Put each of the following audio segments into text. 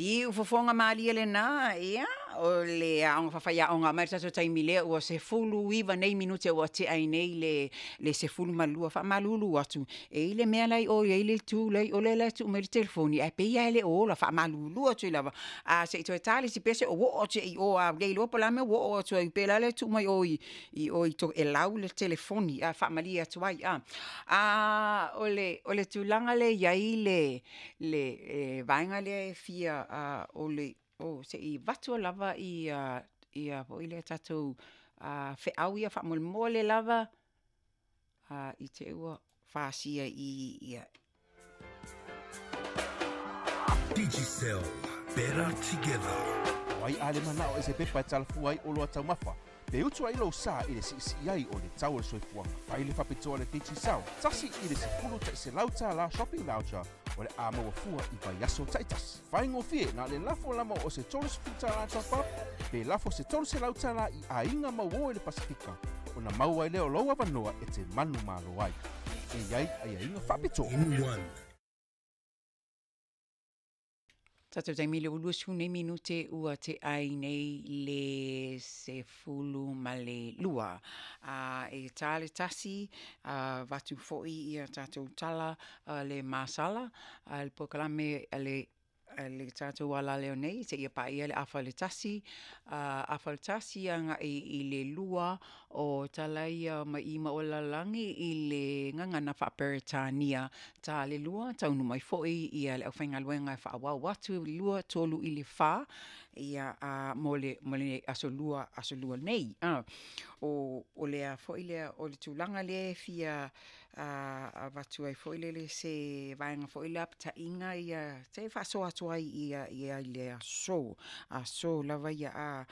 Siufofoga malie lena, ia, o le aoga faafaiaoga mai le tatou taimi lea ua 19 nei minute ua tea ai nei le 12. Faamalulu atu, e i ai le mea la e i o e i ai le itu la e i o lea la e tuu mai ai le telefoni, ae pei lava e le o ola. Faamalulu atu ai lava, se i toe ta le isi pese ou oo atu i o lava, ua le iloa po o le a le mea ua oo atu ai, pei o la e tuu mai i o i Tokelau le telefoni, e faamalie atu ai. O le tulaga lea e i ai le vaega lea e fia, se i avatu lava tatou feau ia faamolemole lava i te i ua fasia i i ia. Digicel, better together. O ai a le manao i se pepa e talafua ai oloa taumafa, pe utu ai lou sa i le siisii ai o le tau o le soifuaga. Fai le faapitoa a le Digicel, $1 i le $100 shopping voucher o le a maua fua i vaiaso taitasi. Faigofie na le lafo lava o se $30 top up, pe lafo se $300 i aiga mauō i le Pasefika, ona maua ai lea o lou avanoa e te manumalo ai. E i ai aiaiga faapitoa. In one. Tatou taimi le ua 20 nei minute ua tea ai nei le 12. E ta le 1, avatu foi ia tatou tala a le masala, a le polokalame a le tatou alaleo nei seia paia le 12:30, 12:30 agai i le 2 o tala ia mai i ma o lalagi i le gagana faa-Peretania. Ta le 2, taunuu mai foi ia le aufaigaluega e faaauau atu 2, 3 i le 4, ia, mo le aso Lua, aso Lua nei. O lea foi lea, o le tulaga lea e fia avatu ai foi lele se vaega foi lapataiga ia, se faasoa atu ai i le aso, aso lava ia,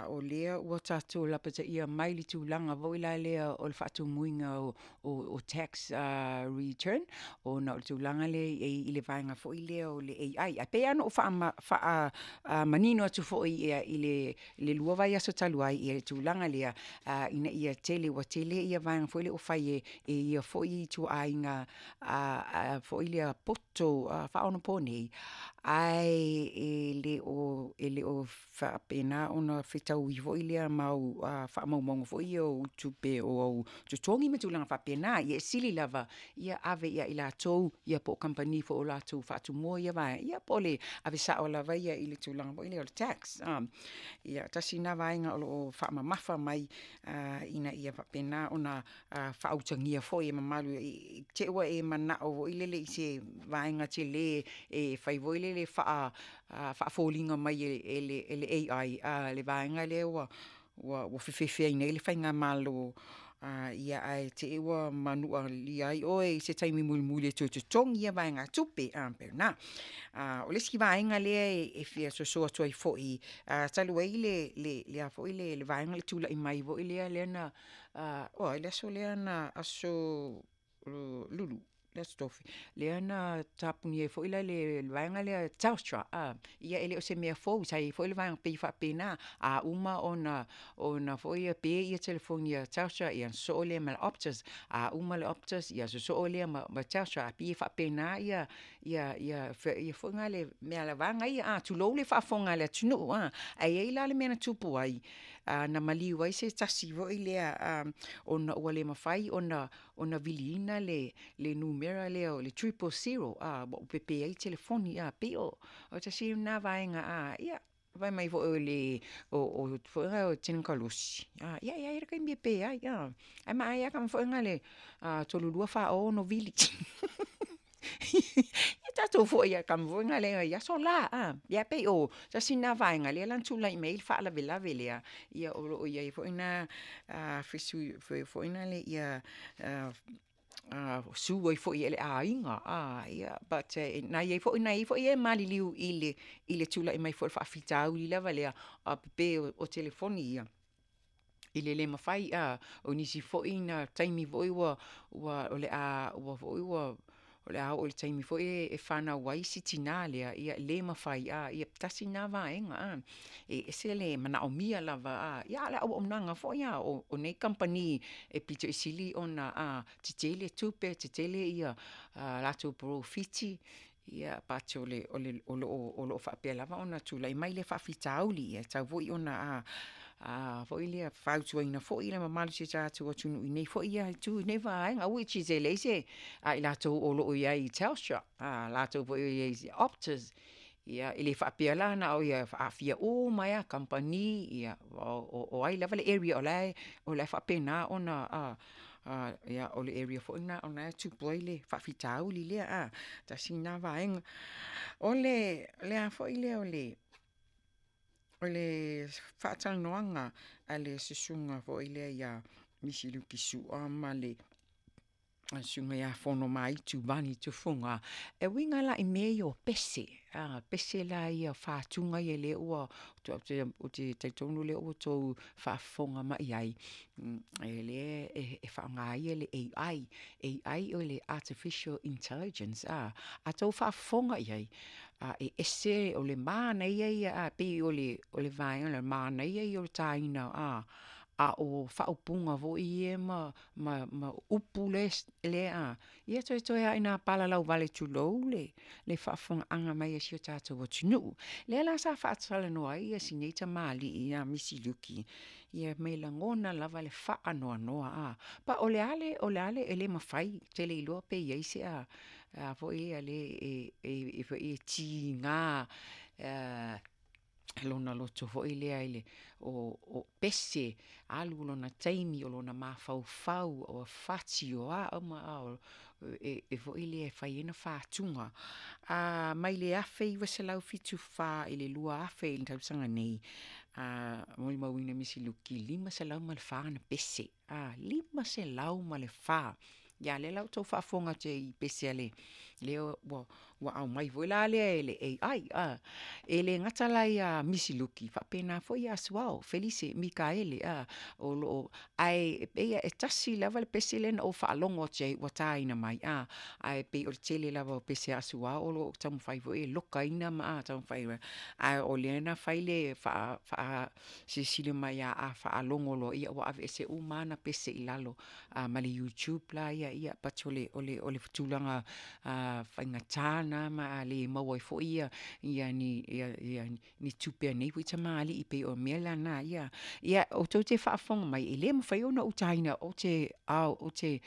o lea ua tatou lapataia mai le tulaga foi la lea o le faatumuina o tax return, ona o le tulaga lea i le vaega foi lea o le AI. Ae pei lava ona ou faamanino atu foi i le 2 vaiaso talu ai le tulaga lea, ina ia tele, ua tele ia vaega foi lea ua fai e ia foi ituaiga foi lea poto faaonaponei, ae e le o faapena ona fetaui foi lea mau faamaumauga foi ia o tupe o au totogi ma tulaga faapena. Ia e sili lava ia ave ia i latou ia po o kamupani foi o latou faatumua ia vaega, ia po o le ave sao lava ia i le tulaga foi lea o le tax. Ia, tasi lena vaega o lo o faamamafa mai ina ia faapena ona faautagia foi e mamalu i te i ua e manao foi lele i se vaega tele e fai foi lele faafoliga mai e le AI le vaega lea ua fefefe ai nei le faigamalo, ia ae te i ua manualia ai oe i se taimi mulimuli e toe totogi ia vaegatupe, pei o lena. O le isi vaega lea e fia soso atu ai foi, talu ai le a foi le vaega le tulai mai foi lea lea na, oi le aso lea na aso Lulu, le aso Tofi, lea na tapunia ai foi la le vaega lea Telstra, ia e le o se mea fou, sa i ai foi le vaega pei e faapena, a uma ona foi ia pe ia telefoni a Telstra, ia ona sosoo lea ma le Optus, a uma le Optus, ia sosoo lea ma Telstra, ae pei e faapena ia foi na le mea le vaega ia, tulou le faafofoga a le atunuu, ae i ai la le mea na tupu ai, na maliu ai se tasi foi lea ona ua le mafai ona viliina le numera lea o le 000, ua pepe ai telefoni, pei o tasi lena vaega, ia, fai mai foi o le o foi o tenikalosi, ia e i ai le taimi e pe ai, ae manaia lava tama foi na le 3, 2, 4, 6 vili. Ia tatou foi lava i tama foi na i aso la, ia pei o tasi lena vaega lea la na tulai mai ai le faalavelave lea, ia o lo o i ai foi na fesui foi na le ia sue ai foi e le aiga, ia, but na i ai foi e maliliu i le tulai mai foi o le faafitauli lava lea, pepe o telefoni ia, i le le mafai, o nisi foi na taimi foi ua o le a ua foi ua o le a oo i le taimi foi e fanau ai si tinā lea, ia le mafai, ia tasi lena vaega, e ese le manaomia lava, ia a o le auaunaga foi o nei kamupani e pito i sili ona tetele tupe, tetele ia latou polofiti. Ia but o le o lo o faapea lava ona tulai mai lea faafitauli, e tatau foi ona foi lea fautuaina foi le mamalu o si o tatou atunuu i nei foi itu i nei vaega, which is e leai se… a i latou o lo o i ai i Telstra, latou foi o i ai i Optus, ia e le faapea la na o… e aafia uma ai lava kamupani, o ai lava le area o la e faapena ona… ia o le area foi lena o la e tupu ai le faafitauli lea, tasi lena vaega. O le a foi lea o le faatalanoaga a le susuga foi lea ia Misi Luki Sua ma le Susuga ia Fonomaitu Vani Tufuga, e uiga la i mea ia o pese, pese la ia o fatuga ia lea ua ou te talitonu o lea ua outou faafofoga mai i ai, o lea e faaaoga ai le AI. AI o le Artificial Intelligence. A outou faafofoga i ai, e ese, o le manaia ia, e pei o le vaega lea o le manaia ia o le taina a o faaupuga foi ia ma upu lea, ia toetoe lava ina palalau vale tulou le faafofogaaga mai a si o tatou atunuu. Lea la sa faatalanoa ai si nei tamalii ia Misi Luki, ma e lagona lava le faanoanoa. Ma o le a le… e le mafai, ou te le iloa pe i ai se a foi lea e tiga lona loto foi lea o pese, alu lona taimi o lona mafaufau, o fati, o a uma, foi lea e fai ai ana fatuga. Mai le 1974 i le 2000 i le tausaga nei, molimauina e Misi Luki e 504 ana pese, 504. Ia lea la ua outou faafofoga atu ai i pese a le… lea ua aumai foi la lea e le AI. E le gata la ia Misi Luki, faapena foi ia Asuao Felice Mikaele, o lo o… ae pei e tasi lava le pese lea na ou faalogo atu i ai ua taina mai, ae pei o le tele lava o pese a Asuao o lo o taumafai foi e lokaina ma taumafai e… ae o lea na fai le faasilasila mai a faalogo loa, ua aveese uma lava ana pese i lalo ma le YouTube la ia, but o le tulaga faigata lena ma le maua ai foi ni tupe a nei foi tamalii, e pei o mea la na. Ia outou te faafofoga mai, e le mafai ona utaina, ou te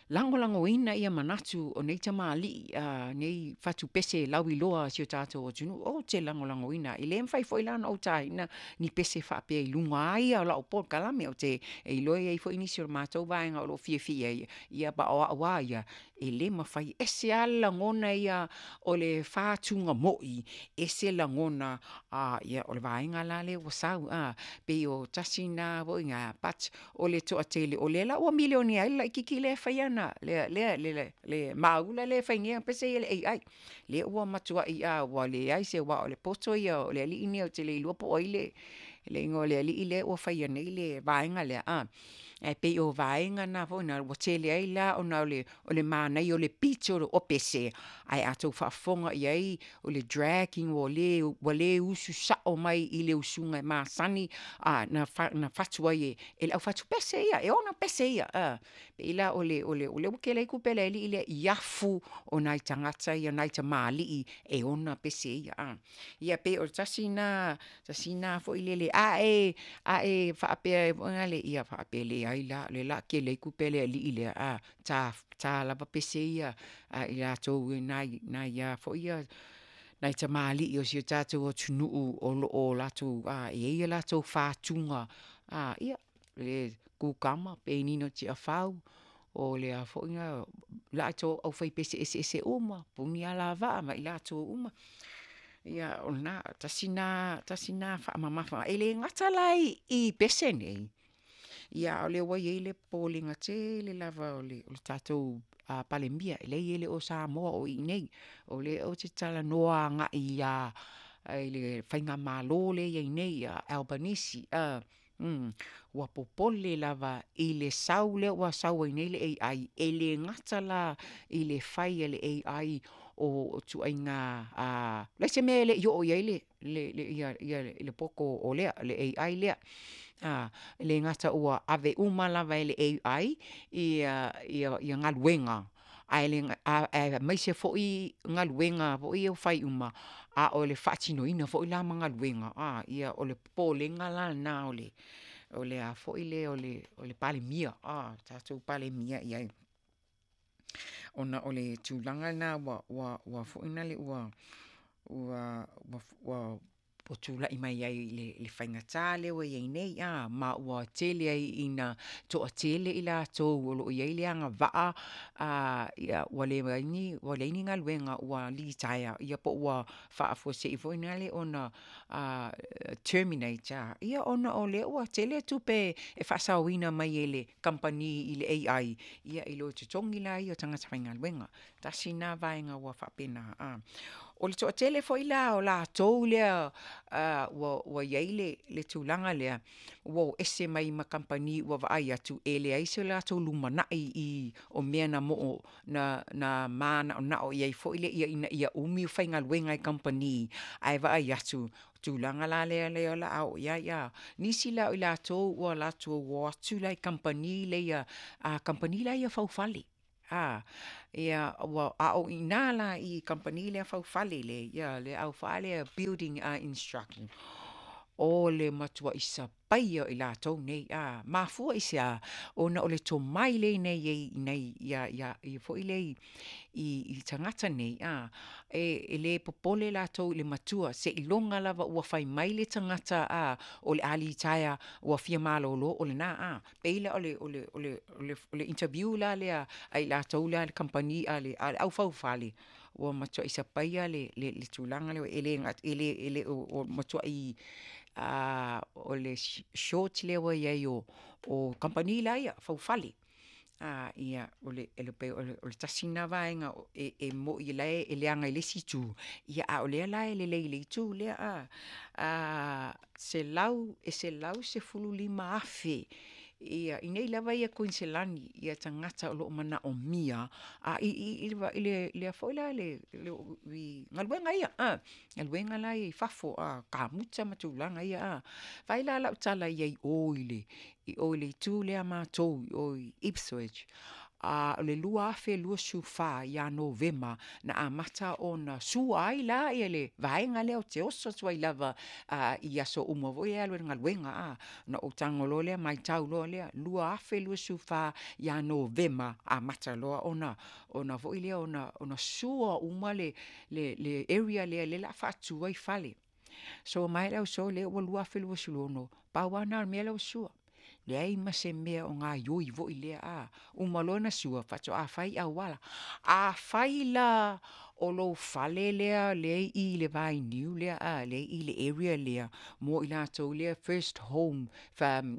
lagolagoina manatu o nei tamalii, nei fatu pese lauiloa a si o tatou atunuu, ou te lagolagoina. E le mafai foi la ona ou taina ni pese faapea i luga lava ia o lau polokalame. Ou te iloa e i ai foi nisi o le matou vaega o lo o fiafia i ai, ia ma o au lava ia, e le mafai, e ese lava le lagona ia o le fatuga moi, ese lagona, ia o le vaega la lea ua sau, pei o tasi lena foi but o le toatele, o lea la ua milionea ai le laitiiti lea e fai ana, le maula lea e fai nei ana pese ia i le AI, lea ua matuai ua leai se… aua o le poto ia o le alii lenei ou te le iloa po o ai le igoa o le alii lea ua faia nei le vaega lea, ae pei o vaega na foi lea ua tele ai la ona o le manaia o le pito o pese, ae a outou faafofoga i ai o le dragging ua le usu sao mai i le usuga e masani ona fatu ai e le aufatu pese ia, e ona pese ia. E pei la o lea ua tele ai tupe a le alii lea i afu o nai tagata ia nai tamalii e ona pese ia. Ia pei o le tasi lena foi lele, a e faapea foi lale, ia faapea leai la, o lea o le a tele ai tupe a le alii lea, ta lava pese ia a i latou nai a foi ia nai tamalii o si o tatou atunuu o lo o latou, e i ai a latou fatuga, ia, le kukama, Penina Tiafau, o le a foi le latou aufaipese eseese uma, Punialavaa ma i latou uma. Ia o lena, tasi lena faamamafa. E le gata la i pese nei, a o lea ua i ai le popolega tele lava o le tatou Palemia, e leai e le o Samoa o i inei, o lea ou te talanoa agai i le faigamalo lea e i ai nei ia Albanese, ua popole lava i le sau lea ua sau ai nei le AI, e le gata la i le fai e le AI o ituaiga, leai se mea e le i oo i ai le poto o le AI lea. E le gata ua ave uma lava e le AI galuega. Ae le aemaise foi galuega foi ia ua fai uma, a o le faatinoina foi la ma galuega, ia o le popolega la lena o le a foi lea o le Palemia, le tatou Palemia i ai. Ona o le tulaga lena ua foi lea ua tulai mai ai i le faigata lea ua i ai nei ma ua tele ai ina toatele i latou o lo o i ai le agavaa ua leai ni galuega ua litaea po ua faafuasei foi lea ona terminate ia ona o lea ua tele tupe e faasaoina mai e le kamupani i le AI i lo totogi la ia o tagata faigaluega. Tasi lena vaega ua faapena. O le toatele foi la o latou lea ua i ai le tulaga lea, ua o ese mai ma kamupani ua vaai atu e leai so latou lumanai i o mea na manaonao i ai foi lea ina ia umi o faigaluega i kamupani, ae vaai atu o le tulaga la lea o le a oo i ai. Nisi la o i latou ua latou o atu la i kamupani ia a kamupani la ia faufale, a o i ina la i kamupani faufale lea le au building instruction, o le matuai sapaia o i latou nei. Mafua i se a? Ona o le tomai lea e i ai foi lea i tagata nei, e le popole latou i le matua seiloga lava ua fai mai le tagata o le a litaea ua fia malolo, o lena. E pei la o le interview la lea a i latou lea a le kamupani a le aufaufale, ua matuai sapaia le tulaga lea, e le o matuai o le short lea ua i ai o kamupani la ia faufale. Ia, e pei o le tasi lena vaega e moni o la e leaga i le isi itu, a o lea la e lelei i le itu lea. E 115,000 i inei lava ia i Kuiniselani tagata o lo o manaomia i le foi la i galuega ia, galuega la ia i fafo, kamuta ma tulaga ia. Fai la lau tala i ai i o i le itu lea a matou i o i Ipswich, o le 2024 ia Novema na amata ona sua ai la le vaega lea ou te oso atu ai lava i aso uma foi ia e alu ai i le galuega. Ona ou tago loa lea matau loa lea, 2024 ia Novema amata loa ona foi lea ona sua uma le area lea o le a faatu ai fale. Soa mai le ausoo o lea ua 2026, pau lava lena o le mea lea ua sua, leai ma se mea o gaoioi foi lea. Uma loa ona sua faatoa fai auala. Afai la o lou fale lea e i i le vainiu lea lea e i i le area lea mo i latou lea first home,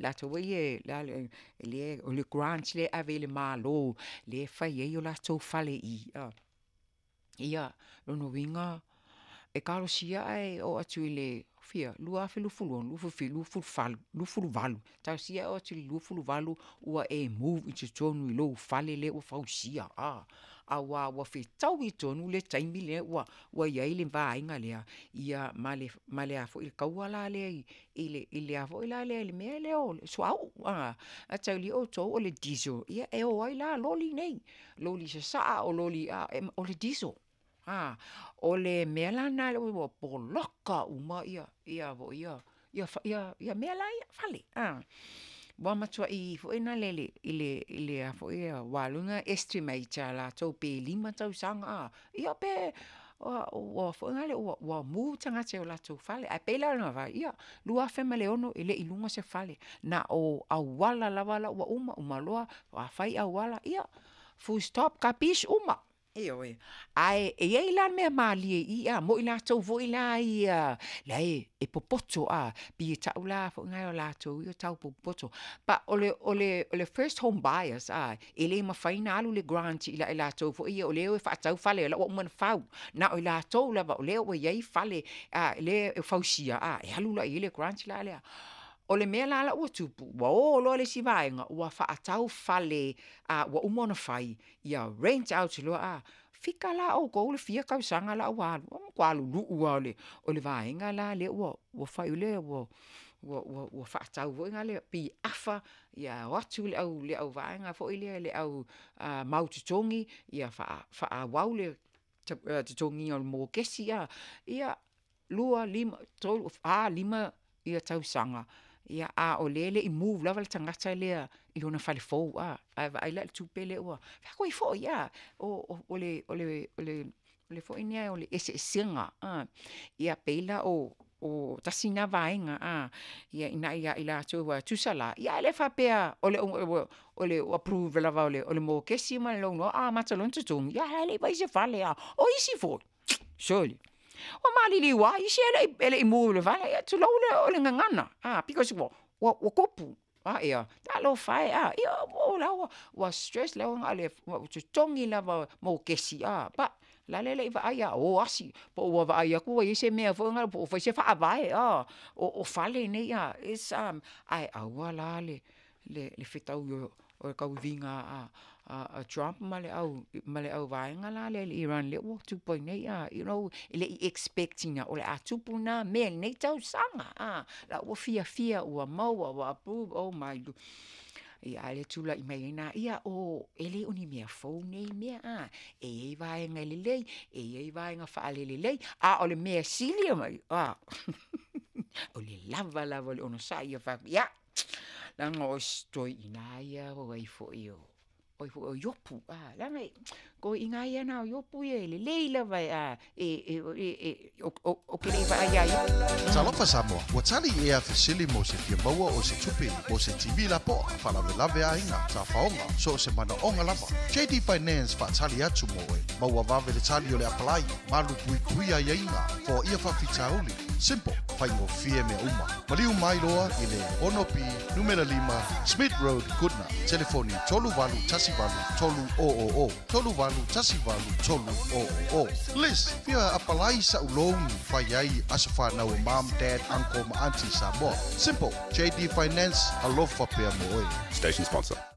latou foi lea o le grant lea e ave e le Malo lea e fai ai o latou fale i i. Ia, lona uiga, e talosia ae oo atu i le fia? 2026, 2027, 2028, talosia ae oo atu i le 2028 ua e move i totonu i lou fale lea ua fausia, aua ua fetaui tonu le taimi lea ua i ai le vaega lea, ia ma le taua la lea i le mea lea o le suauu. Mataulia outou o le diesel, ia e o ai la loli nei, loli sasaa o loli, o le diesel. O le mea la lena ua poloka uma mea la ia, fale. Ua matuai foi lele ua alu le estimate a latou pe 5 tausaga, ia pe ua foi lele ua move tagata i o latou fale. Ae pei la ona fai atu, 2006 e le i iloga se fale, na o auala lava la ua uma, uma loa fai auala, ia full stop, kapish, uma. Ioe. Ae i ai la le mea malie i i mo i latou foi la ia la e popoto, pei e tau la foi o latou ia e tau popoto. But o le first home buyers, e le mafai ona alu le grant ia i latou foi ia o lea e faatau fale o la ua uma ona fau. Na o i latou lava o lea ua i ai fale lea e fausia, e alu la i ai le grant la lea. O le mea la ua tupu, ua o loa le isi vaega ua faatau fale ua uma ona fai, ia rent out loa. Fika la outou le fia tausaga la ua alu, ua matua lulu'u lava o le vaega la lea ua fai o lea ua ua ua ua fa'atau foi gale pei e afa, ia o atu le au le auvaega foi lea le au mau totogi, ia fa'aauau le totogiina o le mokesi a, ia 2, 5, 3, 4, 5 ia tausaga, ia a o lea e le'i move lava le tagata lea i lona fale fou a, ae vaai la i le tupe lea ua faiatu ai fo'i a, o le o le o le o le foi lea o le eseesega a. Ia pei la o tasi na vaega a, ia ina ia i latou aua e tusa la, ia e le faapea o le o le approve lava o le mokesi ma le loan a amata loa ona totogi, ia ae le i fai se fale a. O isi foi, sole, ua maliliu lava isi e le'i move i le fale, ia tulou le o le gagana a, because ua ua tupu, a ia, talofa e a, ia o la ua ua stress la ua na o le totogi lava o mokesi a, but la le i vaai a o asi, po ua vaai atu ua i ai se mea foi lea po ua fai se faavae a, o fale nei a, it's ae aua la le fetaui o le tauiviga a Trump ma le auvaega la lea i le Iran lea ua tupu ai nei a, you know, e le i expect ina o le a tupu na mea i lenei tausaga a, la ua fiafia ua maua ua approve, oh my. Ia ae le tula'i mai ai lena, ia o e le o ni mea fou nei mea a, e i ai vaega e lelei, e i ai vaega faalelelei, a o le mea sili a, o le lava lava o le onosa'i ia fai atu, ia, leaga o si toeaina lava ia o ai foi o oe foi o Iopu, a, leaga o toeaiina lava ia na o Iopu ia e lelei lava a, ou te le i vaai ia Iopu. Talofa Samoa, ua tali ea fesili mo se fia maua o se tupe mo se TV lapoa, faalavelave aiga, tafaoga, so o se manaoga lava. JD Finance faatali atu mo oe. Maua vave le tali o le apalai, malu puipui aiaiga, foaia faafitauli. Simple, faigofie mea uma. Maliu mai loa i le 6B numera 5 Smith Road, Goodna. Telefoni 3818 300 3818 300. Liz, fia apalai sa'u loan fai ai aso fanau o mom, dad, uncle ma auntie Samoa. Simple, JD Finance, alofa pea mo oe. Station sponsor.